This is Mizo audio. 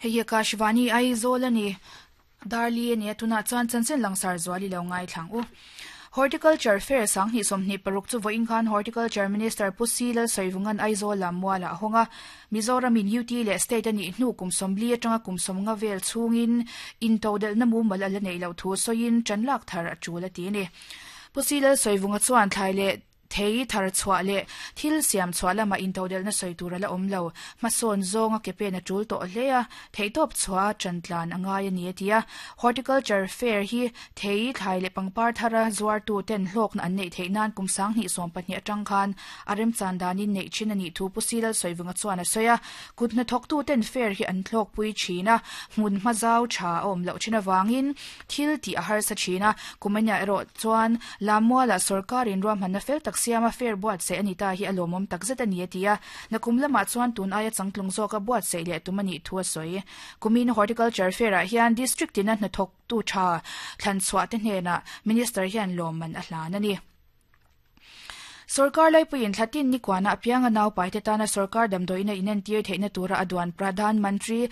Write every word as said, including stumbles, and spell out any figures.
Hei hi Akashvani Aizawl ani Darli ani tuna chuan chanchin langsar zuali lo ngai thlang u. Horticulture Fair sang hi somni paruk chu voin khan Horticulture Minister Pu C Lalsawivunga'n Aizawl Lammuala honga Mizoram in U T le state ani hnu kum somli atanga kum somnga vel chungin in todel na mu mal ala nei lo thu soin chanlak thar achula ti ni. Pu C Lalsawivunga chuan thlai le thei thar chhuah le thil siam chhuah lama in todel na soi tur ala awm lo hmasawn zawnga ke pen a tul tawh hle a thei tawp chhuah chantlan angai ani atia. Horticulture Fair hi thei thlai le pangpar thara zuar tu ten hlawk na an nei theih nan kum sang hnih sawm pahnih atang khan a remchan danin nei thin ani thu Pu C Lalsawivunga chuan a sawi a. Kut hnathawk tu ten fair hi an thlawk pui thin a hmun hmazau tha a awm loh thin awangin thil tih a harsa thin a kumania erawh chuan Lammuala sarkarin ruahmanna fel tak siama fair buat se ani ta hi a lawmawm takzet ani atia. Na kum lamah chuan tun aia changtlung zawka buat se leh tum ani thu a sawi. Kumin Horticulture Fair ah hian district tina hnathawk tu tha thlan chhuah te hnenah minister hian lawmman a hlan ani. Sarkar laipuiin thlatin ni kwana apianga nau paite tana sarkar damdoina inentir theihna tura aduan Pradhan Mantri